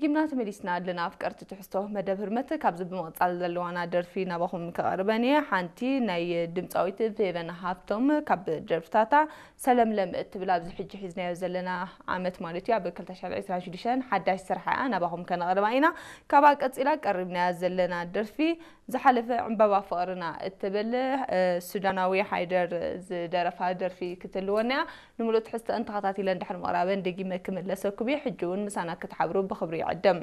ጊምና ተመሊስና ኣለና ኣፍቀርቲ ትሕዝቶ መደብ ህርመት። ካብዚ ብምቕጻል ዘለዋና ደርፊ ናባኹም ከቐርበን እየ። ሓንቲ ናይ ድምፃዊት ፌቨን ሃፍቶም ካብ ደርፍታታ ሰለምለም እትብል ኣብዚ ሕጂ ሒዝናዮ ዘለና ዓመት ማለት እዩ ኣብ ክልተ ሽሕን ዕስራን ሽዱሽተን ሓዳሽ ስርሓ እያ ናባኹም ከነቕርባ ኢና። ካብኣ ቀጺላ ቀሪብናያ ዘለና ደርፊ ዝሓለፈ ዕምባባ ፍቕርና እትብል ሱዳናዊ ሓይደር ዝደረፋ ደርፊ ክትህልወና እያ። ንምሉእ ትሕዝተአን ተኸታቲለን ድሕሪ ምቕራበን ደጊመ ክምለሰኩም እየ። ሕጂ እውን ምሳና ክትሓብሩ ብኽብሪ ይዕድም።